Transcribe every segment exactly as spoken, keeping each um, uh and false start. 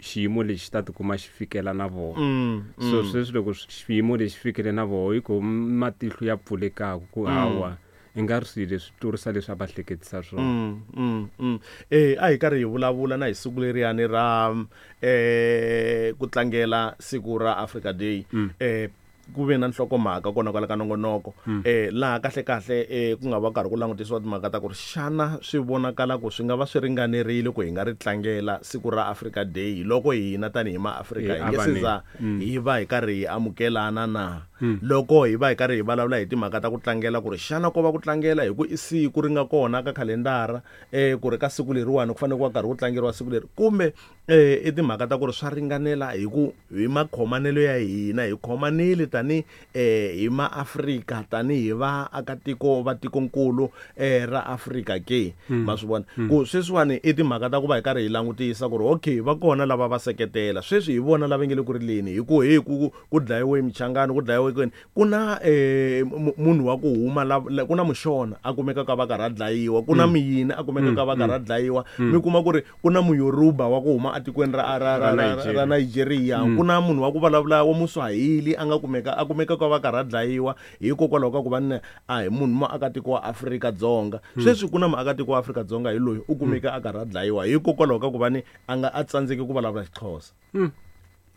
xiyimo lexi ta tikuma xi fikela na vona. Mm, So mm. sweswi loko xiyimo lexi fikele na vona hi ku matihlo ya pfulekaku ku Mm. hawa i nga ri swilo leswi tlurisa leswi a va hleketisa swona. Mm, mm, mm. Eh a hi karhi hi vulavula na hi siku leriyani ra eh ku tlangela siku ra Africa Day. Mm. Eh ku ve na nhlokomhaka kona kwala ka nongonoko. Mm. Eh laha kahle kahle eh ku nga va karhi ku langutisiwa timhaka ta ku ri xana swi vonakala ku swi nga va swi ringanerile ku hi nga ri tlangela siku ra Africa Day loko hina tanihi maAfrika Hi hi nge se avanile. za Mm. hi va hi karhi hi amukelana na. Mm. Loko hi va hi karhi hi vulavula hi timhaka ta ku tlangela ku ri xana ko va ku tlangela hi ku i siku ri nga kona ka khalendara eh ku ri ka siku leriwani ku fanele ku va karhi ku tlangeriwa siku leri kumbe eh i timhaka ta ku ri swa ringanela hi ku hi makhomanelo ya hina hi khomanile tani eh hi maAfrika tanihi vaakatiko va tikonkulu eh ra Afrika ke. Mm. Ma swi vona Mm. ku sweswiwani i timhaka ta ku va hi karhi hi langutisa ku ri okay va kona lava va seketela sweswi hi vona lava nge le ku rileni hi ku hey ku ku dlayiwe Michangani ku dlayiwe kwini ku na eh mu-, munhu wa ku huma la, la, ku na Mushona a kumekaka va karhi a dlayiwa ku na Mm. Miyini a kumekaka Mm, va karhi a mm. dlayiwa Mm. mi kuma ku ri ku na Muyoruba wa ku huma atikweni ra, ra, ra, Ra ra, ra Nigeria. Nigeria. Mm. Ku na munhu wa ku vulavula wa Muswahili a nga kumeka a kumekaka va karhi a dlayiwa hikokwalaho ka ku va ni a hi munhu muakatiko wa Afrika-Dzonga. Mm. Sweswi ku na muakatiko wa Afrika-Dzonga hi loyi u kumeka a karhi a dlayiwa hikokwalaho ka ku va ni a nga a tsandzeki ku vulavula Xixhosa. Mm.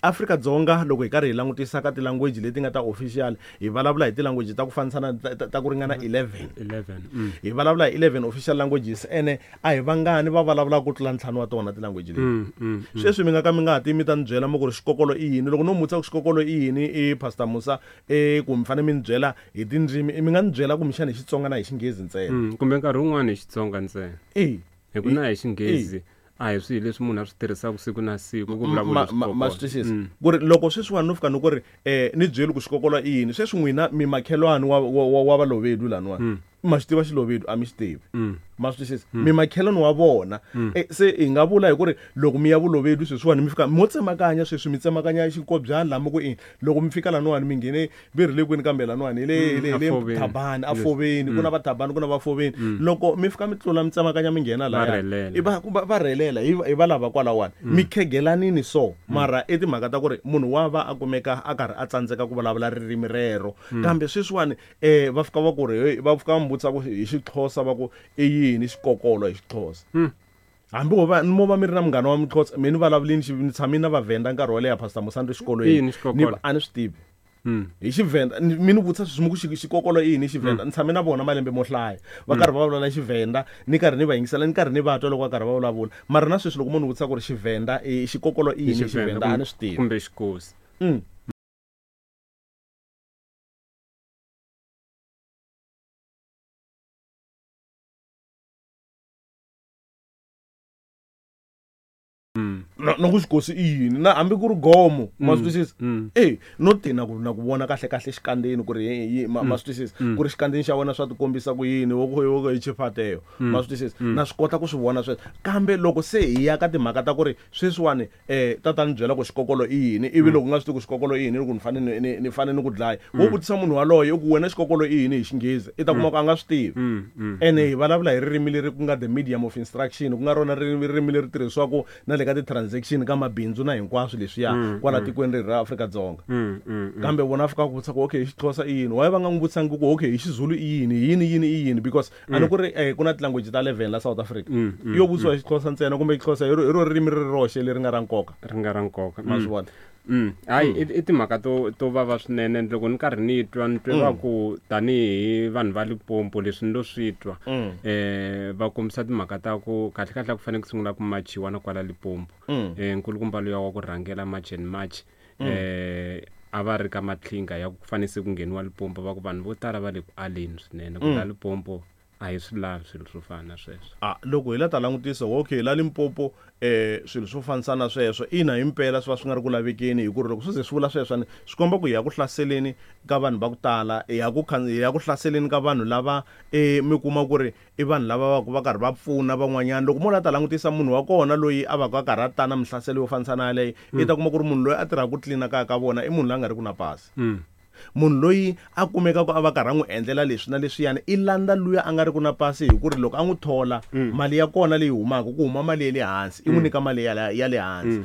Afrika-Dzonga loko hi karhi hi langutisa ka ti-language leti nga ta official hi vulavula hi ti-language ta ku fanisana ta, ta, ta ku ringana eleven. eleven. Mm. Hi vulavula hi eleven official languages ene a hi vangani va vulavulaka ku tlula ntlhanu wa tona ti-language leti. Mm, mm, mm. Sweswi mi nga ka mi nga ha ti mi ta ni byela mi ku ri xikokolo i yini loko no mi vutisa ku xikokolo i yini i Pastor Musa eh ku mi fanele mi ni byela hi tindzimi mi nga ni byela kumbexana hi Xitsonga na hi Xinghezi ntsena. Mm, kumbe nkarhi wun'wani hi Xitsonga ntsena. Eh. Hi ku na hi Xinghezi a hi swilo leswi munhu a swi tirhisaka siku na siku ku vulavula Ma- hi ma- xikokolo. ma swi twisisa. Mm. Ku ri loko sweswiwani no fika ni ku ri eh ni byeli ku xikokolo i yini sweswi n'wina mi makhelwani wa, wa, wa, wa Valovedu laniwani. Mm. Ma swi tiva Xilovedu a mi xi tivi. Mm. Ma swi twisisa. Mm. Mi makhelwani wa vona. Mm. Eh, se hi nga vula hi ku ri loko mi ya Vulovedu sweswiwani mi fika mo tsemakanya sweswi mi tsemakanya xinkobyani laha mi ku i loko mi fika laniwani mi nghene ve ri le kwini kambe laniwani hi le, Mm, hi le, hi le Afoveni. Thabani, Yes. Afoveni, ku na Mm. va Thabani, ku na va Foveni. Mm. Loko mi fika mi tlula mi tsemakanya mi nghena Va lahaya, rhelela. i va, va, va rhelela, hi, hi va lava kwalawani. Mm. Mi khegelanini so, mara i timhaka ta ku ri munhu wa va a kumeka a karhi a tsandzeka ku vulavula ririmi rero. Mm. Kambe sweswiwani eh va fika va ku ri, hey, va fika va mi vutisa ku hi Xixhosa va ku i yini xikokolo hi Xixhosa. Mm. Hambi wo va mo va mi ri na munghana wa Mixhosa, mi ni vulavulini xi, ni tshame na Vavhenda nkarhi wo leha Pastor Musa ni ri xikolweni. I yini xikokolo? Ni, a ni swi tivi. Mm. Hi Xivhenda, ni, mi ni vutisa sweswi mi ku xi-, xikokolo i yini Xivhenda? Mm. Ni tshame na vona malembe mo hlaya. Va Mm. karhi va vulavula Xivhenda, ni karhi ni va yingisela, ni karhi ni va twa loko va karhi va vulavula. Mara na sweswi loko munhu vutisa ku ri Xivhenda, i xikokolo i I yini Xivhenda Xivhenda, a ni swi tivi. kumbe Xikosi. Mm. Mm. Na, na ku xikosi i yini na hambi ku ri gomo ma swi Mm, twisisa? mm. Eh, no ti na ku na ku vona kahle kahle xikandzeni ku ri hi, hi, ma, ma Mm, swi twisisa? mm. Ku ri xikandzeni xa wena swa tikombisa ku yini, wo ku, wo ku hi chifateyo. Mm, Ma swi twisisa? mm. Na swi kota ku swi vona sweswo. Kambe loko se hi ya ka timhaka ta ku ri sweswiwani, eh, tatana ni byela ku xikokolo i yini, ivi Mm. loko u nga swi tivi ku xikokolo i yini, loko ni fanele ni, ni, ni fanele ni ku dlaya. Wo Mm. vutisa munhu waloye u ku wena xikokolo i yini hi Xinghezi, i ta kuma Mm. ku a nga swi tivi. Mm, mm, Ene mm. hi vulavula hi ririmi leri ku nga the medium of instruction, ku nga rona ririmi, ririmi leri tirhisiwaka na le ka ti-transaction ka mabindzu na hinkwaswo leswiya Mm, kwala mm. tikweni leri ra Afrika-Dzonga. Mm, mm, mm. Kambe vona fika ku vutisa ku okay hi Xixhosa i yini, why va nga n'wi vutisangi ku okay hi Xizulu i yini, yini yini i yini, because a ni Mm. ku ri, eh, ku na ti-language ta eleven la South Africa. Mm, mm, Yo vutisiwa mm. hi Xixhosa ntsena kumbe Xixhosa hi ro, hi ro ririmi ri roxe leri nga ra nkoka. Ri nga ra nkoka. Ma Mm. swi vona? Mm. Hayi, Mm. i, i timhaka to, to vava swinene. Loko ni karhi ni twa, ni twe va Mm. ku tanihi vanhu va Limpopo leswi ni lo swi twa, Mm. eh, va kombisa timhaka ta ku kahle kahle ku fanele ku sungula ku machiwa na kwala Limpopo. Mm. Eh, nkulukumba luya wa ku rhangela March and March, Mm. eh, a va ri ka matlhinga ya ku fanele se ku ngheniwa Limpopo, va ku vanhu vo tala va le ku aleni swinene ku Mm. la Limpopo a hi swi lavi swilo swo fana na sweswo. Ah, loko hi la ta langutisa, okay, la Limpopo, eh, swilo swo fanisa na sweswo, ina himpela swi va swi nga ri ku lavekeni, hi ku ri loko swi ze swi vula sweswo, swi komba ku hi ya ku hlaseleni ka vanhu va ku tala, hi ya ku khan-, hi ya ku hlaseleni ka vanhu lava, eh, mi kuma ku ri i vanhu lava va ku va karhi va pfuna van'wanyana. Loko mo la ta langutisa munhu wa kona loyi a va ka a karhi a ta na mihlaselo yo fanisa na yaleyo, i ta kuma ku ri munhu loyi a tirhaka ku tlilina kaya ka vona i munhu loyi a nga ri ku na pasi. Mm. Munhu loyi a kumekaka a va karhi a n'wi endlela leswi na leswiyani i landza luya a nga ri ku na pasi, hi ku ri loko a n'wi thola, Mm. mali ya kona leyi humaka ku huma mali ya le hansi, i n'wi Mm. nyika mali ya le, ya le hansi. Mm.